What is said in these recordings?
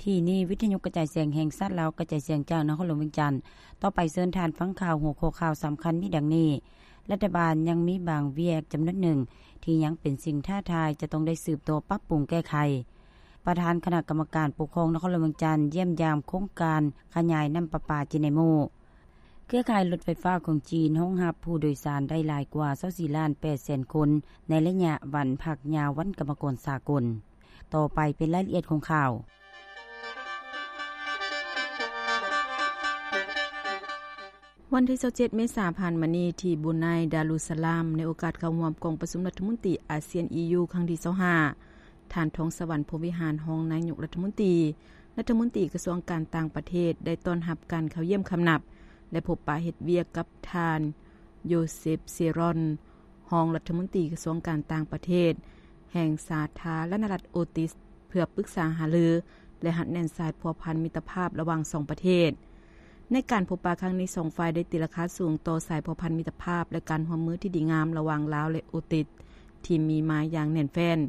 ທີ່ນີ້ ວິທະຍຸກະຈາຍສຽງແຫ່ງຊາດລາວ ກະຈາຍສຽງຈາກນະຄອນຫຼວງວຽງຈັນ. ຕໍ່ໄປເຊີນທ່ານຟັງຂ່າວ ຫົວຂໍ້ຂ່າວສຳຄັນມີດັ່ງນີ້: ລັດຖະບານຍັງມີບາງວຽກຈຳນວນໜຶ່ງ ທີ່ຍັງເປັນສິ່ງທ້າທາຍ ຈະຕ້ອງໄດ້ສືບຕໍ່ປັບປຸງແກ້ໄຂ. ປະທານຄະນະກຳມະການປົກຄອງນະຄອນຫຼວງວຽງຈັນ ຢ້ຽມຢາມໂຄງການຂະຫຍາຍນ້ຳປະປາຈີນໃນໝູ່. ເຄືອຂ່າຍລົດໄຟຟ້າຂອງຈີນຮອງຮັບຜູ້ໂດຍສານໄດ້ຫຼາຍກວ່າຊາວສີ່ລ້ານແປດແສນຄົນ ໃນໄລຍະວັນພັກຍາວວັນກຳມະກອນສາກົນ. ຕໍ່ໄປເປັນລາຍລະອຽດຂອງຂ່າວ. ວັນທີຊາວເຈັດ ເມສາຜ່ານມານີ້ ທີ່ບູໄນ ດາລຸດສະລາມ ໃນໂອກາດເຂົ້າຮ່ວມກອງປະຊຸມລັດຖະມົນຕີອາຊຽນ ອີຢູ ຄັ້ງທີຊາວຫ້າ ທ່ານ ທອງສະຫວັນ ພົມວິຫານ ຮອງນາຍົກລັດຖະມົນຕີ, ລັດຖະມົນຕີກະຊວງການຕ່າງປະເທດ ໄດ້ຕ້ອນຮັບການເຂົ້າຢ້ຽມຄຳນັບ ແລະ ພົບປະເຮັດວຽກກັບທ່ານ ໂຢເຊັບ ເຊຣອນ ຮອງລັດຖະມົນຕີກະຊວງການຕ່າງປະເທດ ແຫ່ງສາທາລະນະລັດໂອຕິສ ເພື່ອປຶກສາຫາລື ແລະ ຮັດແໜ້ນສາຍພົວພັນມິດຕະພາບລະຫວ່າງສອງປະເທດ. ໃນການພົບປະຄັ້ງນີ້ ສອງຝ່າຍໄດ້ຕີລາຄາສູງຕໍ່ສາຍພົວພັນມິດຕະພາບ ແລະ ການຮ່ວມມືທີ່ດີງາມລະຫວ່າງລາວ ແລະ ໂອຕິສ ທີ່ມີມາຢ່າງແໜ້ນແຟ້ນ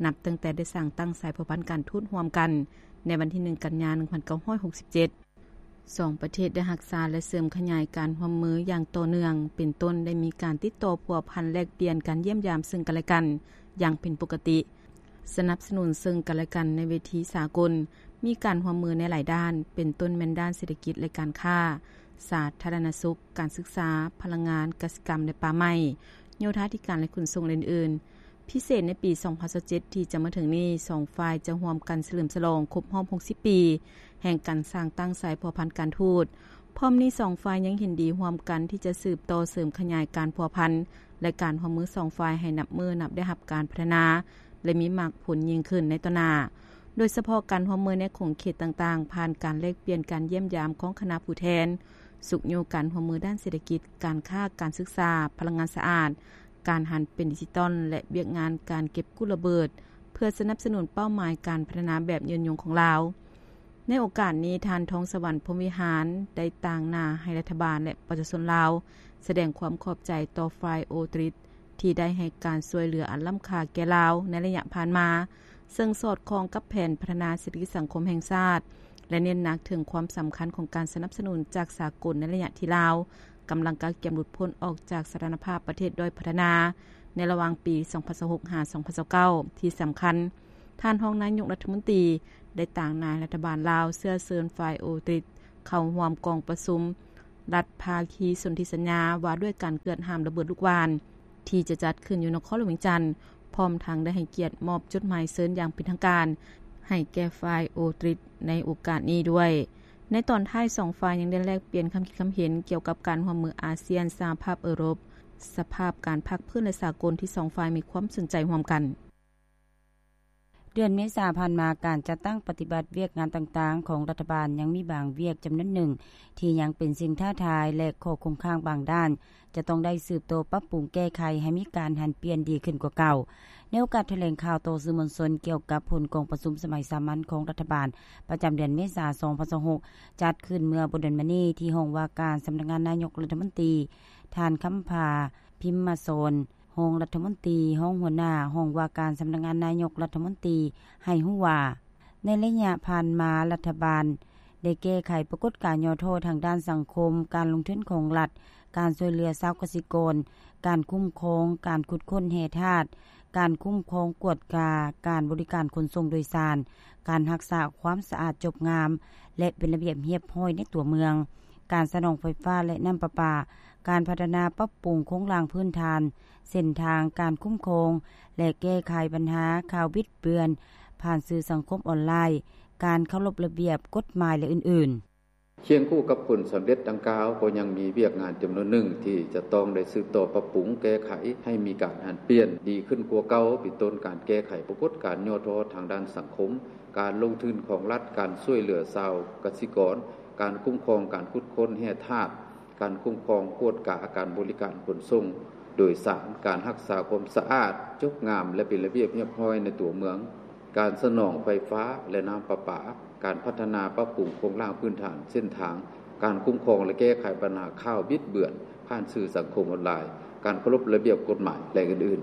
ນັບຕັ້ງແຕ່ໄດ້ສ້າງຕັ້ງສາຍພົວພັນການທູດຮ່ວມກັນ ໃນວັນທີໜຶ່ງ ກັນຍາ ໜຶ່ງພັນເກົ້າຮ້ອຍຫົກສິບເຈັດ. ສອງປະເທດໄດ້ຮັກສາ ແລະ ເສີມຂະຫຍາຍການຮ່ວມມືຢ່າງຕໍ່ເນື່ອງ, ເປັນຕົ້ນ ໄດ້ມີການຕິດຕໍ່ພົວພັນແລກປ່ຽນການຢ້ຽມຢາມເຊິ່ງກັນແລະກັນຢ່າງເປັນປົກກະຕິ, ສະໜັບສະໜູນເຊິ່ງກັນແລະກັນໃນເວທີສາກົນ, ມີການຮ່ວມມືໃນຫຼາຍດ້ານ, ເປັນຕົ້ນແມ່ນດ້ານເສດຖະກິດ ແລະ ການຄ້າ, ສາທາລະນະສຸກ, ການສຶກສາ, ພະລັງງານ, ກະສິກຳ ແລະ ປ່າໄມ້, ໂຍທາທິການ ແລະ ຂົນສົ່ງ ແລະ ອື່ນໆ. ພິເສດໃນປີສອງພັນຊາວເຈັດ ທີ່ຈະມາເຖິງນີ້, ສອງຝ່າຍຈະຮ່ວມກັນສະເຫຼີມສະຫຼອງຄົບຮອບຫົກສິບປີ ແຫ່ງການສ້າງຕັ້ງສາຍພົວພັນການທູດ. ພ້ອມນີ້ ສອງຝ່າຍຍັງເຫັນດີຮ່ວມກັນທີ່ຈະສືບຕໍ່ເສີມຂະຫຍາຍການພົວພັນ ແລະ ການຮ່ວມມືສອງຝ່າຍໃຫ້ນັບມື້ນັບໄດ້ຮັບການພັດທະນາ ແລະ ມີໝາກຜົນຍິ່ງຂຶ້ນໃນຕໍ່ໜ້າ, ໂດຍສະເພາະການຮ່ວມມືໃນຂົງເຂດຕ່າງໆ ຜ່ານການແລກປ່ຽນການຢ້ຽມຢາມຂອງຄະນະຜູ້ແທນ, ຊຸກຍູ້ການຮ່ວມມືດ້ານເສດຖະກິດ, ການຄ້າ, ການສຶກສາ, ພະລັງງານສະອາດ, ການຫັນເປັນດິຈິຕອນ ແລະ ວຽກງານການເກັບກູ້ລະເບີດ ເພື່ອສະໜັບສະໜູນເປົ້າໝາຍການພັດທະນາແບບຍືນຍົງຂອງລາວ. ໃນໂອກາດນີ້, ທ່ານ ທອງສະຫວັນ ພົມວິຫານ ໄດ້ຕາງໜ້າໃຫ້ລັດຖະບານ ແລະ ປະຊາຊົນລາວ ສະແດງຄວາມຂອບໃຈຕໍ່ຝ່າຍໂອຕຣິດ ທີ່ໄດ້ໃຫ້ການຊ່ວຍເຫຼືອອັນລ້ຳຄ່າແກ່ລາວໃນໄລຍະຜ່ານມາ, ເຊິ່ງສອດຄ່ອງກັບແຜນພັດທະນາເສດຖະກິດສັງຄົມແຫ່ງຊາດ ແລະ ເນັ້ນໜັກເຖິງຄວາມສຳຄັນຂອງການສະໜັບສະໜູນຈາກສາກົນໃນໄລຍະທີ່ລາວກຳລັງກະກຽມຫຼຸດພົ້ນອອກຈາກສະຖານະພາບປະເທດດ້ອຍພັດທະນາ ໃນລະຫວ່າງປີສອງພັນຊາວຫົກ ຫາ ສອງພັນຊາວເກົ້າ. ທີ່ສຳຄັນ, ທ່ານຮອງນາຍົກລັດຖະມົນຕີໄດ້ຕາງໜ້າໃຫ້ລັດຖະບານລາວເຊື້ອເຊີນຝ່າຍໂອຕຣິດເຂົ້າຮ່ວມກອງປະຊຸມລັດພາຄີສົນທິສັນຍາວ່າດ້ວຍການເກືອດຫ້າມລະເບີດລູກຫວ່ານ ທີ່ຈະຈັດຂຶ້ນຢູ່ນະຄອນຫຼວງວຽງຈັນ, ພ້ອມທັງໄດ້ໃຫ້ກຽດມອບຈົດໝາຍເຊີນຢ່າງເປັນທາງການໃຫ້ແກ່ຝ່າຍໂອຕຣິດໃນໂອກາດນີ້ດ້ວຍ. ໃນຕອນທ້າຍ, ສອງຝ່າຍຍັງໄດ້ແລກປ່ຽນຄຳຄິດຄຳເຫັນກ່ຽວກັບການຮ່ວມມືອາຊຽນ, ສະຫະພາບເອີຣົບ, ສະພາບການພາກພື້ນ ແລະ ສາກົນ ທີ່ສອງຝ່າຍມີຄວາມສົນໃຈຮ່ວມກັນ. ເດືອນເມສາຜ່ານມາ, ການຈັດຕັ້ງປະຕິບັດວຽກງານຕ່າງໆຂອງລັດຖະບານ ຍັງມີບາງວຽກຈຳນວນໜຶ່ງ ທີ່ຍັງເປັນສິ່ງທ້າທາຍ ແລະ ຂໍ້ຄົງຄ້າງບາງດ້ານ ຈະຕ້ອງໄດ້ສືບຕໍ່ປັບປຸງແກ້ໄຂໃຫ້ມີການຫັນປ່ຽນດີຂຶ້ນກວ່າເກົ່າ. ໃນໂອກາດຖະແຫຼງຂ່າວຕໍ່ສື່ມວນຊົນກ່ຽວກັບຜົນກອງປະຊຸມສະໄໝສາມັນຂອງລັດຖະບານປະຈຳເດືອນເມສາ ສອງພັນຊາວຫົກ ຈັດຂຶ້ນເມື່ອບໍ່ດົນມານີ້ ທີ່ຫ້ອງວ່າການສຳນັກງານນາຍົກລັດຖະມົນຕີ, ທ່ານ ຄຳພາ ພິມມະສອນ ຮອງລັດຖະມົນຕີ, ຮອງຫົວໜ້າຫ້ອງວ່າການສຳນັກງານນາຍົກລັດຖະມົນຕີ ໃຫ້ຮູ້ວ່າ ໃນໄລຍະຜ່ານມາ, ລັດຖະບານໄດ້ແກ້ໄຂປາກົດການຫຍໍ້ທໍ້ທາງດ້ານສັງຄົມ, ການລົງທຶນຂອງລັດ, ການຊ່ວຍເຫຼືອຊາວກະສິກອນ, ການຄຸ້ມຄອງການຂຸດຄົ້ນແຮ່ທາດ, ການຄຸ້ມຄອງກວດກາການບໍລິການຂົນສົ່ງໂດຍສານ, ການຮັກສາຄວາມສະອາດຈົບງາມ ແລະ ເປັນລະບຽບຮຽບຮ້ອຍໃນຕົວເມືອງ, ການສະໜອງໄຟຟ້າ ແລະ ນ້ຳປະປາ, ການພັດທະນາປັບປຸງໂຄງລ່າງພື້ນຖານ, ເສັ້ນທາງການຄຸ້ມຄອງ ແລະ ແກ້ໄຂບັນຫາຂ່າວບິດເບືອນຜ່ານສື່ສັງຄົມອອນລາຍ, ການເຄົາລົບລະບຽບກົດໝາຍ ແລະ ອື່ນໆ. ຄຽງຄູ່ກັບຜົນສຳເລັດດັ່ງກ່າວ, ກໍຍັງມີວຽກງານຈຳນວນໜຶ່ງທີ່ຈະຕ້ອງໄດ້ສືບຕໍ່ປັບປຸງແກ້ໄຂໃຫ້ມີການຫັນປ່ຽນດີຂຶ້ນກວ່າເກົ່າ, ເປັນຕົ້ນການແກ້ໄຂປາກົດການຫຍໍ້ທໍ້ທາງດ້ານສັງຄົມ, ການລົງທຶນຂອງລັດ, ການຊ່ວຍເຫຼືອຊາວກະສິກອນ, ການຄຸ້ມຄອງການຂຸດຄົ້ນແຮ່ທາດ, ການຄຸ້ມຄອງກວດກາການບໍລິການຂົນສົ່ງໂດຍສານ, ການຮັກສາຄວາມສະອາດ, ຈົບງາມ ແລະ ເປັນລະບຽບຮຽບຮ້ອຍໃນຕົວເມືອງ, ການສະໜອງໄຟຟ້າ ແລະ ນ້ຳປະປາ, ການພັດທະນາປັບປຸງໂຄງລ່າງພື້ນຖານເສັ້ນທາງ, ການຄຸ້ມຄອງ ແລະ ແກ້ໄຂບັນຫາຂ່າວບິດເບືອນຜ່ານສື່ສັງຄົມອອນລາຍ, ການເຄົາລົບລະບຽບກົດໝາຍ ແລະ ອື່ນ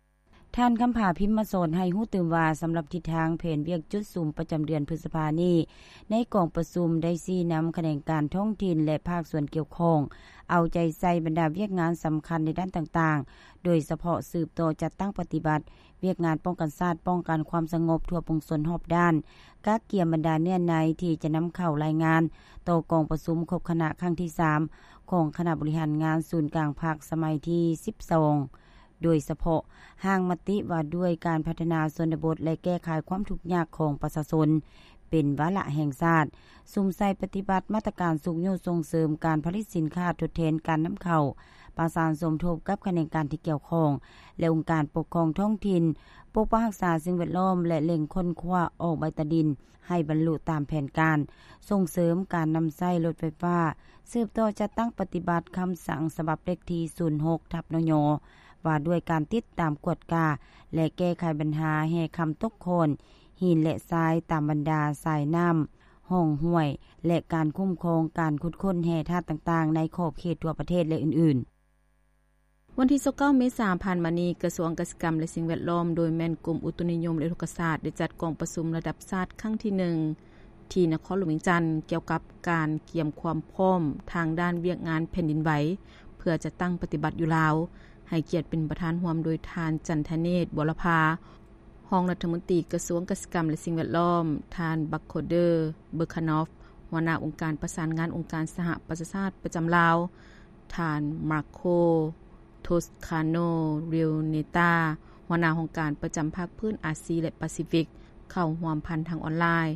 ໆ. ທ່ານ ຄຳຜາ ພິມມະສອນ ໃຫ້ຮູ້ຕື່ມວ່າ ສຳລັບທິດທາງແຜນວຽກຈຸດສຸມປະຈຳເດືອນພຶດສະພານີ້ ໃນກອງປະຊຸມໄດ້ຊີ້ນຳຂະແໜງການທ້ອງຖິ່ນ ແລະ ພາກສ່ວນກ່ຽວຂ້ອງ ເອົາໃຈໃສ່ບັນດາວຽກງານສຳຄັນໃນດ້ານຕ່າງໆ ໂດຍສະເພາະສືບຕໍ່ຈັດຕັ້ງປະຕິບັດວຽກງານປ້ອງກັນຊາດ, ປ້ອງກັນຄວາມສະຫງົບທົ່ວປວງຊົນຮອບດ້ານ, ກະກຽມບັນດາເນື້ອໃນທີ່ຈະນຳເຂົ້າລາຍງານຕໍ່ກອງປະຊຸມຄົບຄະນະຄັ້ງທີສາມ ຂອງຄະນະບໍລິຫານງານສູນກາງພັກສະໄໝທີສິບສອງ ໂດຍສະເພາະຮ່າງມະຕິວ່າດ້ວຍການພັດທະນາຊົນນະບົດ ແລະ ແກ້ໄຂຄວາມທຸກຍາກຂອງປະຊາຊົນ ເປັນວາລະແຫ່ງຊາດ, ສຸມໃສ່ປະຕິບັດມາດຕະການຊຸກຍູ້ສົ່ງເສີມການຜະລິດສິນຄ້າທົດແທນການນຳເຂົ້າ, ປະສານສົມທົບກັບຂະແໜງການທີ່ກ່ຽວຂ້ອງ ແລະ ອົງການປົກຄອງທ້ອງຖິ່ນ, ປົກປັກຮັກສາສິ່ງແວດລ້ອມ ແລະ ເລັ່ງຄົ້ນຄວ້າອອກໃບຕາດິນໃຫ້ບັນລຸຕາມແຜນການ, ສົ່ງເສີມການນຳໃຊ້ລົດໄຟຟ້າ, ສືບຕໍ່ຈັດຕັ້ງປະຕິບັດຄຳສັ່ງສະບັບເລກທີສູນຫົກທັບ ນຍ ວ່າດ້ວຍການຕິດຕາມກວດກາ ແລະ ແກ້ໄຂບັນຫາແຮ່ຄຳຕົກຂ້ອນ ຫີນ ແລະ ຊາຍຕາມບັນດາສາຍນ້ຳ, ຮ່ອງຫ້ວຍ ແລະ ການຄຸ້ມຄອງການຂຸດຄົ້ນແຮ່ທາດຕ່າງໆ ໃນຂອບເຂດທົ່ວປະເທດ ແລະ ອື່ນໆ. ວັນທີຊາວເກົ້າ ເມສາ ຜ່ານມານີ້, ກະຊວງກະສິກຳ ແລະ ສິ່ງແວດລ້ອມ ໂດຍແມ່ນກົມອຸຕຸນິຍົມ ແລະ ອຸທົກກະສາດ ໄດ້ຈັດກອງປະຊຸມລະດັບຊາດຄັ້ງທີໜຶ່ງ ທີ່ນະຄອນຫຼວງວຽງຈັນ ກ່ຽວກັບການກຽມຄວາມພ້ອມທາງດ້ານວຽກງານແຜ່ນດິນໄຫວ ເພື່ອຈັດຕັ້ງປະຕິບັດຢູ່ລາວ, ໃຫ້ກຽດເປັນປະທານຮ່ວມໂດຍທ່ານ ຈັນທະເນດ ບົວລະພາ ຮອງລັດຖະມົນຕີກະຊວງກະສິກຳ ແລະ ສິ່ງແວດລ້ອມ, ທ່ານ ບັກໂຄເດີ ເບີຄານອຟ ຫົວໜ້າອົງການປະສານງານອົງການສະຫະປະຊາຊາດປະຈຳລາວ, ທ່ານ ມາໂຄ ໂທສຄາໂນ ເຣວເນຕາ ຫົວໜ້າຫ້ອງການປະຈຳພາກພື້ນອາຊີ ແລະ ປາຊີຟິກ ເຂົ້າຮ່ວມຜ່ານທາງອອນລາຍ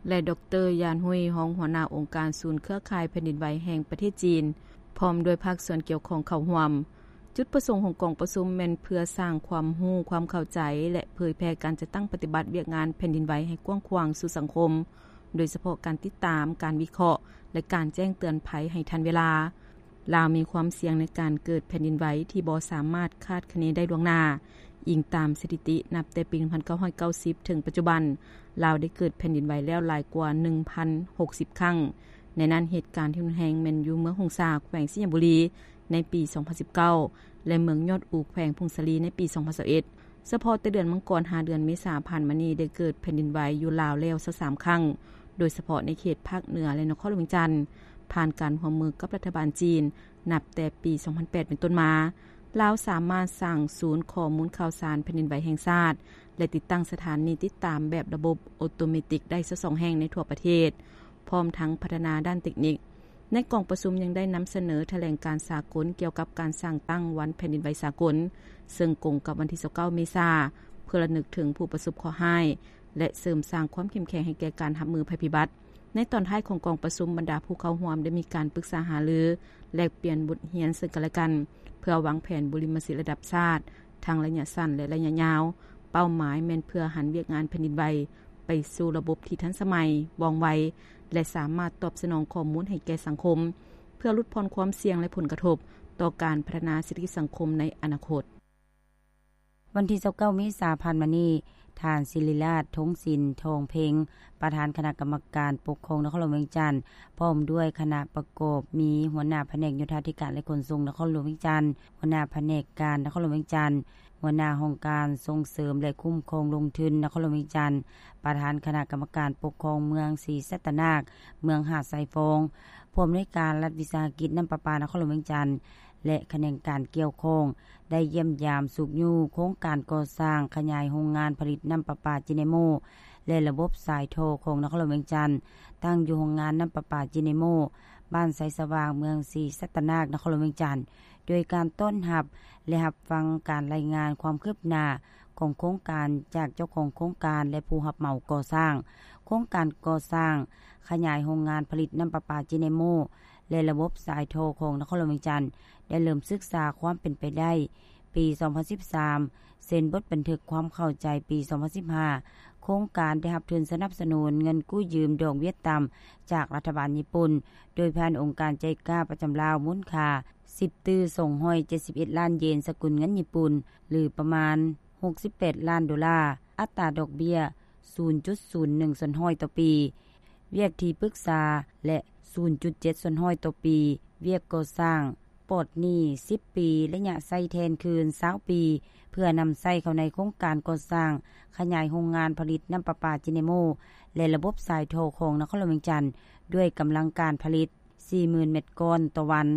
ແລະ ດອກເຕີ ຢານຮຸຍ ຮອງຫົວໜ້າອົງການສູນເຄືອຂ່າຍແຜ່ນດິນໄຫວແຫ່ງປະເທດຈີນ ພ້ອມດ້ວຍພາກສ່ວນກ່ຽວຂ້ອງເຂົ້າຮ່ວມ. ຈຸດປະສົງຂອງກອງປະຊຸມແມ່ນເພື່ອສ້າງຄວາມຮູ້, ຄວາມເຂົ້າໃຈ ແລະ ເຜີຍແຜ່ການຈັດຕັ້ງປະຕິບັດວຽກງານແຜ່ນດິນໄຫວໃຫ້ກວ້າງຂວາງສູ່ສັງຄົມ, ໂດຍສະເພາະການຕິດຕາມ, ການວິເຄາະ ແລະ ການແຈ້ງເຕືອນໄພໃຫ້ທັນເວລາ. ລາວມີຄວາມສ່ຽງໃນການເກີດແຜ່ນດິນໄຫວທີ່ບໍ່ສາມາດຄາດຄະເນໄດ້ລ່ວງໜ້າ. ອີງຕາມສະຖິຕິ, ນັບແຕ່ປີໜຶ່ງພັນເກົ້າຮ້ອຍເກົ້າສິບ ເຖິງປັດຈຸບັນ, ລາວໄດ້ເກີດແຜ່ນດິນໄຫວແລ້ວຫຼາຍກວ່າໜຶ່ງພັນຫົກສິບຄັ້ງ. ໃນນັ້ນ, ເຫດການທີ່ຮຸນແຮງແມ່ນຢູ່ເມືອງຫົງສາ, ແຂວງໄຊຍະບູລີ ໃນປີສອງພັນສິບເກົ້າ ແລະ ເມືອງຍອດອູ, ແຂວງຜົ້ງສາລີ ໃນປີສອງພັນຊາວເອັດ. ສະເພາະແຕ່ເດືອນມັງກອນຫາເດືອນເມສາຜ່ານມານີ້ ໄດ້ເກີດແຜ່ນດິນໄຫວຢູ່ລາວແລ້ວຊາວສາມຄັ້ງ, ໂດຍສະເພາະໃນເຂດພາກເໜືອ ແລະ ນະຄອນຫຼວງວຽງຈັນ. ຜ່ານການຮ່ວມມືກັບລັດຖະບານຈີນ, ນັບແຕ່ປີສອງພັນແປດເປັນຕົ້ນມາ, ລາວສາມາດສ້າງສູນຂໍ້ມູນຂ່າວສານແຜ່ນດິນໄຫວແຫ່ງຊາດ ແລະ ຕິດຕັ້ງສະຖານີຕິດຕາມແບບລະບົບໂອໂຕເມຕິກໄດ້ຊາວສອງແຫ່ງໃນທົ່ວປະເທດ, ພ້ອມທັງພັດທະນາດ້ານເຕັກນິກ. ໃນກອງປະຊຸມຍັງໄດ້ນຳສະເໜີຖະແຫຼງການສາກົນກ່ຽວກັບການສ້າງຕັ້ງວັນແຜ່ນດິນໄຫວສາກົນ, ເຊິ່ງກົງກັບວັນທີຊາວເກົ້າ ເມສາ, ເພື່ອລະນຶກເຖິງຜູ້ປະສົບເຄາະຮ້າຍ ແລະ ເສີມສ້າງຄວາມເຂັ້ມແຂງໃຫ້ແກ່ການຮັບມືໄພພິບັດ. ໃນຕອນທ້າຍຂອງກອງປະຊຸມ, ບັນດາຜູ້ເຂົ້າຮ່ວມໄດ້ມີການປຶກສາຫາລື, ແລກປ່ຽນບົດຮຽນເຊິ່ງກັນແລະກັນ, ເພື່ອວາງແຜນບຸລິມະສິດລະດັບຊາດ, ທັງໄລຍະສັ້ນ ແລະ ໄລຍະຍາວ. ເປົ້າໝາຍແມ່ນເພື່ອຫັນວຽກງານແຜ່ນດິນໄຫວໄປສູ່ລະບົບທີ່ທັນສະໄໝ, ວ່ອງໄວ ແລະ ສາມາດຕອບສະໜອງຂໍ້ມູນໃຫ້ແກ່ສັງຄົມ, ເພື່ອຫຼຸດຜ່ອນຄວາມສ່ຽງ ແລະ ຜົນກະທົບຕໍ່ການພັດທະນາເສດຖະກິດສັງຄົມໃນອະນາຄົດ. ວັນທີຊາວເກົ້າ ເມສາ ຜ່ານມານີ້, ທ່ານ ສິລິລາດ ທົງສິນ ທອງເພັງ ປະທານຄະນະກຳມະການປົກຄອງນະຄອນຫຼວງວຽງຈັນ ພ້ອມດ້ວຍຄະນະປະກອບມີຫົວໜ້າພະແນກໂຍທາທິການ ແລະ ຂົນສົ່ງນະຄອນຫຼວງວຽງຈັນ, ຫົວໜ້າພະແນກການນະຄອນຫຼວງວຽງຈັນ, ຫົວໜ້າຫ້ອງການສົ່ງເສີມ ແລະ ຄຸ້ມຄອງລົງທຶນນະຄອນຫຼວງວຽງຈັນ, ປະທານຄະນະກຳມະການປົກຄອງເມືອງສີສັດຕະນາກ, ເມືອງຫາດຊາຍຟອງ, ຜູ້ອຳນວຍການລັດວິສາຫະກິດນ້ຳປະປານະຄອນຫຼວງວຽງຈັນ ແລະ ຂະແໜງການກ່ຽວຂ້ອງ ໄດ້ຢ້ຽມຢາມຊຸກຍູ້ໂຄງການກໍ່ສ້າງຂະຫຍາຍໂຮງງານຜະລິດນ້ຳປະປາຈີເນໂມ ແລະ ລະບົບສາຍທໍ່ຂອງນະຄອນຫຼວງວຽງຈັນ, ຕັ້ງຢູ່ໂຮງງານນ້ຳປະປາຈີເນໂມ, ບ້ານໄຊສະຫວ່າງ, ເມືອງສີສັດຕະນາກ, ນະຄອນຫຼວງວຽງຈັນ, ໂດຍການຕ້ອນຮັບ ແລະ ຮັບຟັງການລາຍງານຄວາມຄືບໜ້າຂອງໂຄງການຈາກເຈົ້າຂອງໂຄງການ ແລະ ຜູ້ຮັບເໝົາກໍ່ສ້າງ. ໂຄງການກໍ່ສ້າງຂະຫຍາຍໂຮງງານຜະລິດນ້ຳປະປາຈີເນໂມ ແລະ ລະບົບສາຍທໍ່ຂອງນະຄອນຫຼວງວຽງຈັນ ໄດ້ເລີ່ມສຶກສາຄວາມເປັນໄປໄດ້ປີສອງພັນສິບສາມ, ເຊັນບົດບັນທຶກຄວາມເຂົ້າໃຈປີສອງພັນສິບຫ້າ. ໂຄງການໄດ້ຮັບທຶນສະໜັບສະໜູນເງິນກູ້ຢືມດອກເບ້ຍຕ່ຳຈາກລັດຖະບານຍີ່ປຸ່ນ ໂດຍຜ່ານອົງການໄຈກາປະຈຳລາວ ມູນຄ່າສິບຕື້ສອງຮ້ອຍເຈັດສິບເອັດລ້ານເຢນ ສະກຸນເງິນຍີ່ປຸ່ນ ຫຼື ປະມານຫົກສິບແປດລ້ານໂດລາ, ອັດຕາດອກເບ້ຍສູນຈຸດສູນໜຶ່ງສ່ວນຮ້ອຍຕໍ່ປີ, ວຽກທີ່ປຶກສາ ແລະ ສູນຈຸດເຈັດສ່ວນຮ້ອຍຕໍ່ປີ, ວຽກກໍ່ສ້າງ ປອດໜີ້ສິບປີ, ໄລຍະໃຊ້ແທນຄືນຊາວປີ ເພື່ອນຳໃຊ້ເຂົ້າໃນໂຄງການກໍ່ສ້າງຂະຫຍາຍໂຮງງານຜະລິດນ້ຳປະປາຈິເນໂມ ແລະ ລະບົບສາຍທໍ່ຂອງນະຄອນຫຼວງວຽງຈັນ ດ້ວຍກຳລັງການຜະລິດສີ່ໝື່ນແມັດກ້ອນຕໍ່ວັນ,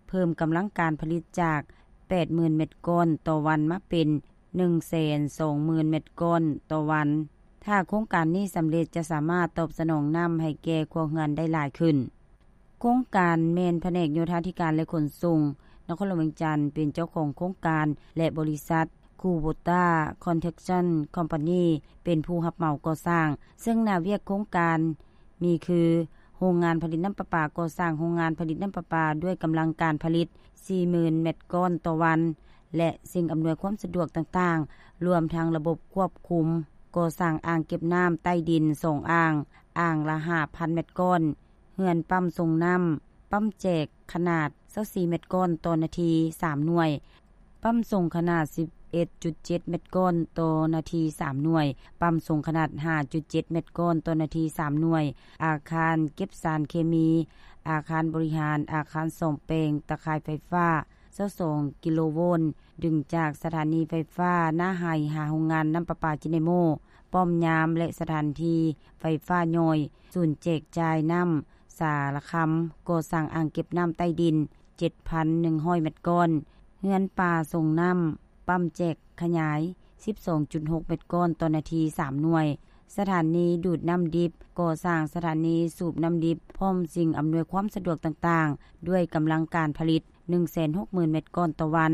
ເພີ່ມກຳລັງການຜະລິດຈາກແປດໝື່ນແມັດກ້ອນຕໍ່ວັນມາເປັນໜຶ່ງແສນສອງໝື່ນແມັດກ້ອນຕໍ່ວັນ. ຖ້າໂຄງການນີ້ສຳເລັດ ຈະສາມາດຕອບສະໜອງນ້ຳໃຫ້ແກ່ຄົວເຮືອນໄດ້ຫຼາຍຂຶ້ນ. ໂຄງການແມ່ນພະແນກໂຍທາທິການ ແລະ ຂົນສົ່ງ ນະຄອນຫຼວງວຽງຈັນ ເປັນເຈົ້າຂອງໂຄງການ ແລະ ບໍລິສັດ Kubota Construction Company ເປັນຜູ້ຮັບເໝົາກໍ່ສ້າງ, ເຊິ່ງໜ້າວຽກໂຄງການມີຄື ໂຮງງານຜະລິດນ້ຳປະປາ, ກໍ່ສ້າງໂຮງງານຜະລິດນ້ຳປະປາດ້ວຍກຳລັງການຜະລິດສີ່ໝື່ນແມັດກ້ອນຕໍ່ວັນ ແລະ ສິ່ງອຳນວຍຄວາມສະດວກຕ່າງໆ ລວມທັງລະບົບຄວບຄຸມ, ກໍ່ສ້າງອ່າງເກັບນ້ຳໃຕ້ດິນສອງອ່າງ, ອ່າງລະຫ້າພັນແມັດກ້ອນ, ເຮືອນປ້ຳສົ່ງນ້ຳ, ປ້ຳແຈກຂະໜາດຊາວສີ່ແມັດກ້ອນຕໍ່ນາທີສາມໜ່ວຍ, ປ້ຳສົ່ງຂະໜາດສິບເອັດຈຸດເຈັດແມັດກ້ອນຕໍ່ນາທີສາມໜ່ວຍ, ປ້ຳສົ່ງຂະໜາດຫ້າຈຸດເຈັດແມັດກ້ອນຕໍ່ນາທີສາມໜ່ວຍ, ອາຄານເກັບສານເຄມີ, ອາຄານບໍລິຫານ, ອາຄານສ້ອມແປງຕາຂ່າຍໄຟຟ້າຊາວສອງກິໂລໂວນ, ດຶງຈາກສະຖານີໄຟຟ້ານາໄຮ່ຫາໂຮງງານນ້ຳປະປາຈິເນໂມ, ປ້ອມຍາມ ແລະ ສະຖານທີ່ໄຟຟ້າຍ່ອຍ, ສູນແຈກຈ່າຍນ້ຳ ສາລະຄຳ, ກໍ່ສ້າງອ່າງເກັບນ້ຳໃຕ້ດິນເຈັດພັນໜຶ່ງຮ້ອຍແມັດກ້ອນ, ເຮືອນປ່າສົ່ງນ້ຳ, ປ້ຳແຈກຂະຫຍາຍສິບສອງຈຸດຫົກແມັດກ້ອນຕໍ່ນາທີສາມໜ່ວຍ, ສະຖານີດູດນ້ຳດິບ, ກໍ່ສ້າງສະຖານີສູບນ້ຳດິບ ພ້ອມສິ່ງອຳນວຍຄວາມສະດວກຕ່າງໆ ດ້ວຍກຳລັງການຜະລິດໜຶ່ງແສນຫົກໝື່ນແມັດກ້ອນຕໍ່ວັນ,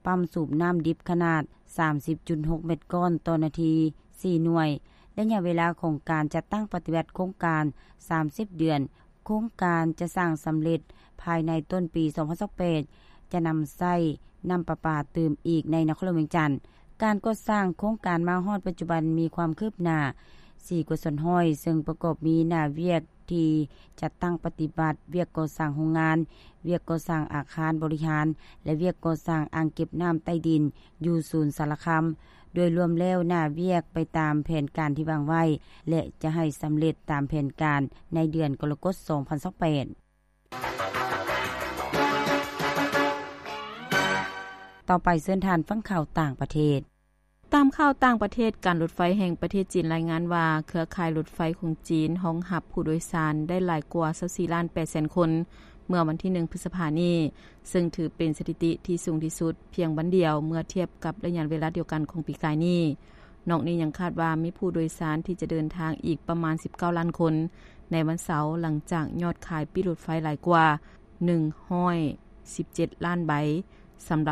ປ້ຳສູບນ້ຳດິບຂະໜາດສາມສິບຈຸດຫົກແມັດກ້ອນຕໍ່ນາທີສີ່ໜ່ວຍ. ໄລຍະເວລາຂອງການຈັດຕັ້ງປະຕິບັດໂຄງການສາມສິບເດືອນ. ໂຄງການຈະສ້າງສຳເລັດພາຍໃນຕົ້ນປີສອງພັນຊາວແປດ ຈະນຳໃຊ້ນ້ຳປະປາຕື່ມອີກໃນນະຄອນຫຼວງວຽງຈັນ. ການກໍ່ສ້າງໂຄງການມາຮອດປັດຈຸບັນມີຄວາມຄືບໜ້າສີ່ກວ່າສ່ວນຮ້ອຍ, ເຊິ່ງປະກອບມີໜ້າວຽກທີ່ຈັດຕັ້ງປະຕິບັດ, ວຽກກໍ່ສ້າງໂຮງງານ, ວຽກກໍ່ສ້າງອາຄານບໍລິຫານ ແລະ ວຽກກໍ່ສ້າງອ່າງເກັບນ້ຳໃຕ້ດິນຢູ່ສູນສາລະຄຳ. ໂດຍລວມແລ້ວໜ້າວຽກໄປຕາມແຜນການທີ່ວາງໄວ້ ແລະ ຈະໃຫ້ສຳເລັດຕາມແຜນການໃນເດືອນກໍລະກົດສອງພັນຊາວແປດ. ຕໍ່ໄປເຊີນທ່ານຟັງຂ່າວຕ່າງປະເທດ. ຕາມຂ່າວຕ່າງປະເທດ, ການລົດໄຟແຫ່ງປະເທດຈີນລາຍງານວ່າ ເຄືອຂ່າຍລົດໄຟຂອງຈີນຮອງຮັບຜູ້ໂດຍສານໄດ້ຫຼາຍກວ່າຊາວສີ່ລ້ານແປດແສນຄົນ ເມື່ອວັນທີໜຶ່ງ ພຶດສະພານີ້, ເຊິ່ງຖືເປັນສະຖິຕິທີ່ສູງທີ່ສຸດພຽງວັນດຽວ ເມື່ອທຽບກັບໄລຍະເວລາດຽວກັນຂອງປີກາຍນີ້. ນອກນີ້ຍັງຄາດວ່າມີຜູ້ໂດຍສານທີ່ຈະເດີນທາງອີກປະມານສິບເກົ້າລ້ານຄົນໃນວັນເສົາ, ຫຼັງຈາກຍອດຂາຍປີ້ລົດໄຟຫຼາຍກວ່າໜຶ່ງຮ້ອຍສິບເຈັດລ້ານໃບ. ສຳລັບ